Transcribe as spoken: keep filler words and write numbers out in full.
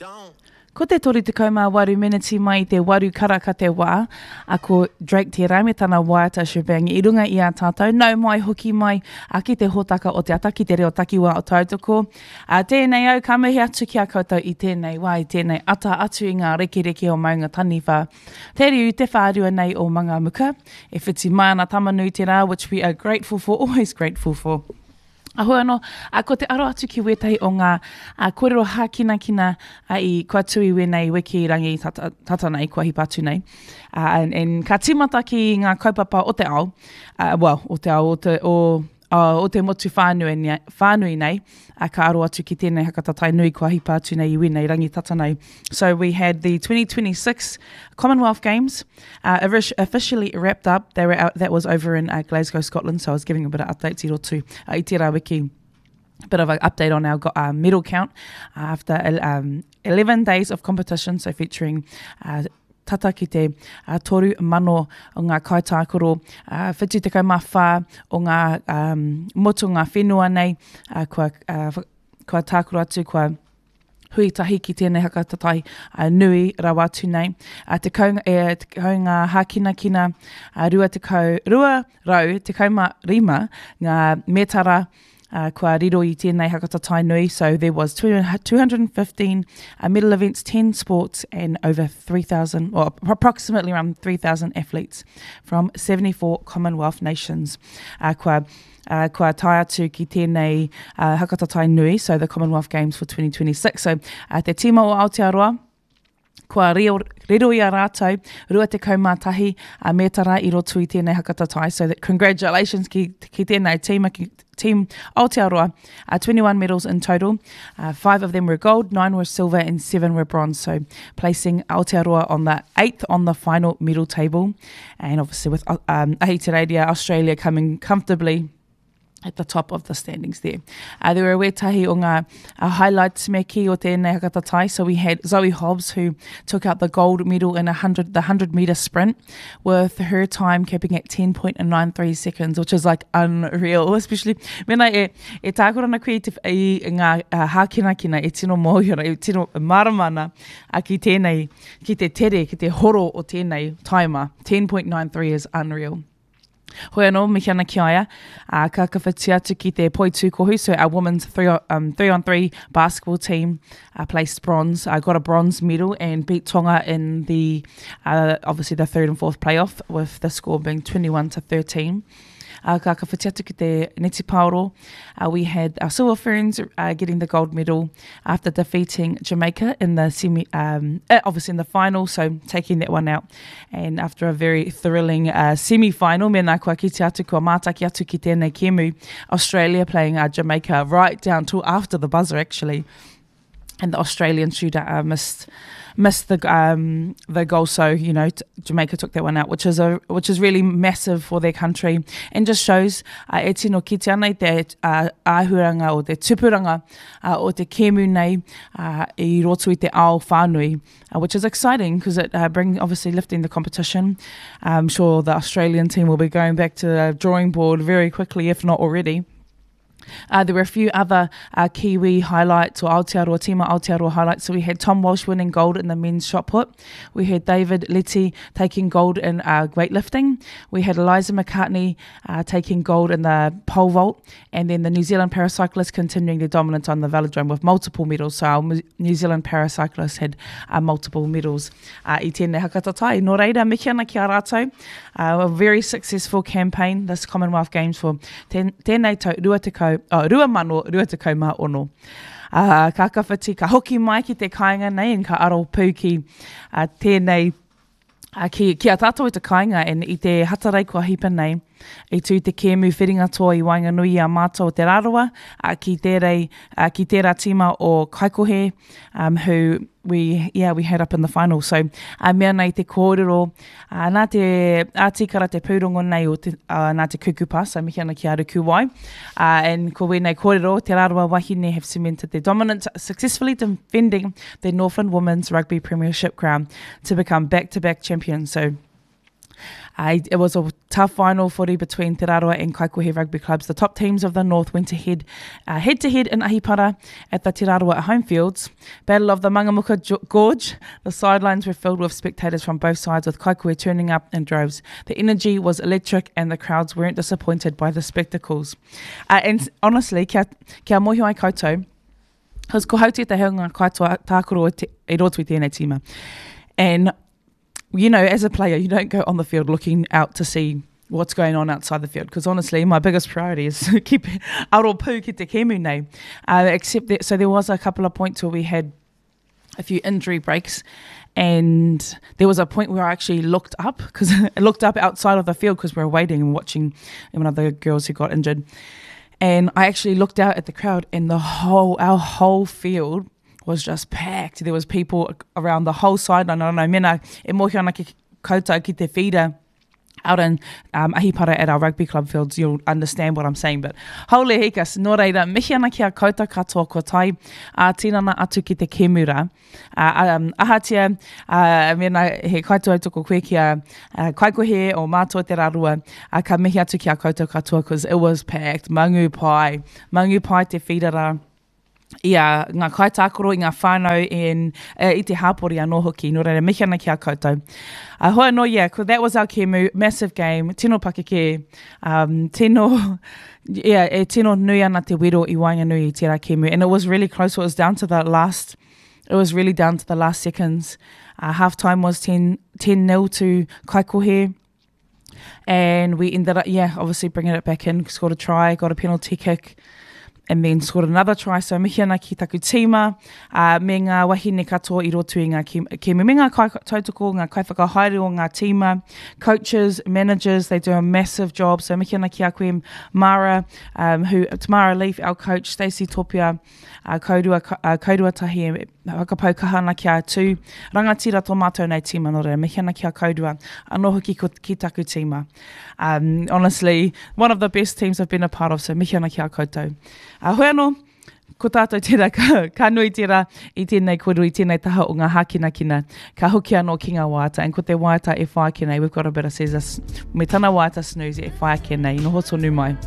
Don't. Ko te toru tekau mā waru meneti mai i te waru karaka te wā, a ko Drake tērā me tana waiata Shebang i runga i a tātou, nau mai hoki mai a ki te hōtaka o te ata ki te reo takiwā o Tautoko. A tēnei au ka mihi atu ki a koutou i tēnei wā, i tēnei ata atu i ngā rekereke o Maunga Taniwha. Te riu te whārua nei o Mangamuka, e whiti mai ana Tamanui te rā, which we are grateful for, always grateful for. Ahoi anō, a, ko te aro atu ki wētahi o ngā a, kōrero hākinakina a, i kua tū i wēnei wiki rangi tata, tata nei, kua hipa atu nei. Uh, and, and ka tīmata ki ngā kaupapa o te ao, uh, well, o te ao, o te, o, uh, o te motu whānui, nei, whānui nei, uh, ka aro atu ki tēnei hakatatai nui kua hipa atu nei i wēnei rangi tata nei. So we had the twenty twenty-six Commonwealth Games uh, officially wrapped up. They were out, that was over in uh, Glasgow, Scotland, so I was giving a bit of updates i roto uh, i tērā wiki. Bit of an update on our uh, medal count after um, eleven days of competition, so featuring uh, tata ki te uh, toru mano o ngā kaitākaro, uh, whitu tekau mā whā o ngā um, motu ngā whenua nei, uh, kua, uh, kua tākaro atu, kua hui tahi ki tēnei hakatatai uh, nui rawa atu nei. Uh, tekau, e, tekau ngā hākinakina, uh, rua tekau, rua rau, tekau mā rima, ngā metara, Uh, kua riro i tēnei hakatatai nui. So there was two hundred fifteen uh, medal events, ten sports, and over three thousand, or approximately around three thousand athletes from seventy-four Commonwealth nations. Uh, kua, uh, kua tae atu ki tēnei uh, hakatatai nui, so the Commonwealth Games for twenty twenty-six. So uh, te tīma o Aotearoa, kua riro, riro i a rātou, rua tekau mā tahi a metara i roto i tēnei hakatatai. So that congratulations ki, ki tēnei tīma, ki Team Aotearoa, uh, twenty-one medals in total. Uh, five of them were gold, nine were silver, and seven were bronze. So placing Aotearoa on the eighth on the final medal table. And obviously with um, Ahitereiria, Australia coming comfortably at the top of the standings there. Uh, there were wētahi o ngā uh, highlights me ki o tēnei hakatatai. So we had Zoe Hobbs, who took out the gold medal in a hundred, the hundred meter sprint, with her time capping at ten point nine three seconds, which is like unreal, especially mena e, e tākoro ana koe i te, i ngā uh, hākinakina e tino mōhio, e tino maramana uh, ki tēnei, ki te tere, ki te horo o tēnei taima. ten point nine three is unreal. Hoi anō, mihi ana ki a ia, uh, ka kawhiti atu ki te poitūkohu, so our women's three, um, three on three basketball team uh, placed bronze, uh, got a bronze medal and beat Tonga in the, uh, obviously the third and fourth playoff, with the score being twenty-one to thirteen. Uh, ka kawhiti atu ki te Neti Paoro, uh, we had our Silver Ferns uh, getting the gold medal after defeating Jamaica in the semi, um, uh, obviously in the final, so taking that one out. And after a very thrilling uh, semi-final, mēnā kua kite atu, kua mātaki atu ki tēnei kemu, Australia playing uh, Jamaica right down till after the buzzer, actually. And the Australian shooter uh, missed, missed the, um, the goal, so you know t-, Jamaica took that one out, which is a which is really massive for their country, and just shows uh, e tino kite ana i te, uh, āhuranga o te tupuranga, uh, o te kēmu nei, uh, i roto i te ao whānui, uh, which is exciting 'cause it, uh, brings obviously lifting the competition. I'm sure the Australian team will be going back to the drawing board very quickly, if not already. Uh, there were a few other, uh, Kiwi highlights, or Aotearoa, Tīma Aotearoa highlights. So we had Tom Walsh winning gold in the men's shot put. We had David Letty taking gold in, uh, weightlifting. We had Eliza McCartney, uh, taking gold in the pole vault. And then the New Zealand paracyclists continuing their dominance on the velodrome with multiple medals. So our New Zealand paracyclists had, uh, multiple medals. Uh, i tēnei hakatatai. Nō reira, mihi ana ki a rātou. Uh, a very successful campaign, this Commonwealth Games for ten, tēnei tau rua tekau, oh, rua mano, rua tekau mā ono. Uh, ka kawhiti, ka hoki mai ki te kāinga nei, and ka aro pū ki, uh, tēnei, uh, ki, ki a tātou i te kāinga, and i te hatarei kua hipa nei, i tū te kēmu whiringa toa i waenganui i a mātou o Te Rarawa, uh, ki tērei, uh, ki tērā tīma o Kaikohe, um, who we, yeah, we had up in the final. So, uh, mea nei te kōrero, uh, nā te ātikara te pūrongo nei o te, uh, nā te kukupa, so mihi ana ki a Rukuwai. Uh, and ko wēnei kōrero, Te Rarawa Wahine have cemented their dominance, successfully defending the Northland Women's Rugby Premiership crown to become back-to-back champions. So, Uh, it was a tough final footy between Te Rarawa and Kaikohe rugby clubs. The top teams of the North went ahead, uh, head to head in Ahipara at the Te Rarawa home fields. Battle of the Mangamuka Gorge. The sidelines were filled with spectators from both sides, with Kaikohe turning up in droves. The energy was electric and the crowds weren't disappointed by the spectacles. Uh, and honestly, kia, kia mohi ai koutou, cause ko hau te hunga kaitoa tākoro e roto i tēnei tīma. And you know, as a player, you don't go on the field looking out to see what's going on outside the field, because honestly, my biggest priority is keep aro pū ki te kemu nei. Uh, except that, so there was a couple of points where we had a few injury breaks, and there was a point where I actually looked up, because I looked up outside of the field because we were waiting and watching one of the girls who got injured. And I actually looked out at the crowd, and the whole, our whole field was just packed. There was people around the whole sideline. I don't know, mena e mohi ana ki koutou ki te whira out in um, Ahipara at our rugby club fields, you'll understand what I'm saying. But haole hikas, nō reira, mihi ana ki a koutou katoa ko tai a tinana atu ki te kemura. Uh, um, ahatia, uh, mena he kaituautoko koe ki a uh, Kaikohe o Mātua Te Rarua, uh, ka mihi atu ki a koutou katoa, cause it was packed. Mangu pai. Mangu pai te whirara. Ia, ngā kaitākoro i ngā whānau in, uh, i te hāpori anō hoki. Nō reira, mihi ana ki a koutou. Uh, hoi anō, yeah, that was our kemu, massive game, tino pakeke, um, tino, yeah, e tino nui ana te wero i waenganui i tērā kemu. And it was really close, it was down to the last, it was really down to the last seconds. Uh, half time was ten nil to Kaikohe. And we ended up, yeah, obviously bringing it back in, scored a try, got a penalty kick, and then scored another try. So mihi ana ki taku tīma, uh, me ngā wahine katoa i roto i ngā kemu. Me ngā kai tautoko, ngā kaiwhakahaere o ngā tīma, coaches, managers, they do a massive job. So mihi ana ki a koe Mara, um, who, Tamara Leaf, our coach, Stacey Topia, uh, Kaurua, uh, Kaurua Tahi, whakapau kaha ana ki a tū. Rangatira tō mātou nei tīma, nō reira, mihi ana ki a Kaurua, anō hoki ki taku tīma. Um, honestly, one of the best teams I've been a part of, so mihi ana ki a koutou. Uh, hoi anō, ko tātou tērā, ka, ka nui tērā i tēnei kōrero, i tēnei taha o ngā hākinakina, ka hoki anō ki ngā waiata, and ko te waiata e whai ake nei, we've got a bit of Caesar, me tana waiata snooze e whai ake nei, noho tonu mai.